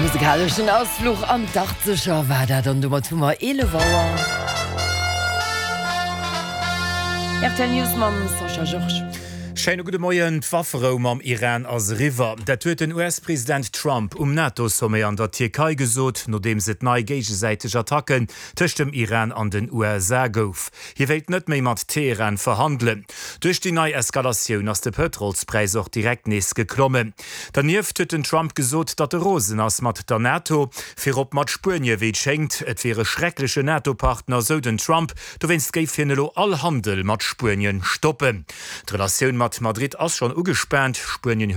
Musekaleschen Ausfluch an d'Achtzeger war dat an domat hu mer 11 Auer. Rtl News mam Sascha Georges. Schéine gudde Moien. D'Wafferou mam Iran ass eriwwer. Dat huet den US-President Trump um NATO-Sommet an der Tierkei gesot, nodeems et nei géigesäiteg Attacken tëscht dem Iran an den USA gouf. Hie wéilt net méi mat Teheran verhandelen. Duerch déi nei Eskalatioun ass de Pëtrolspräis och direkt nees geklommen. Dernieft huet den Trump gesot, datt e rosen ass mat der NATO, virop mat Spuenie wéi et schéngt. Et wier e schrecklechen NATO-Partner, sou den Trump. Dowéinst géif hien elo all Handel mat Spuenien stoppen. D'Relatioun mat Madrid ass schonn ugespaant. Spuenien.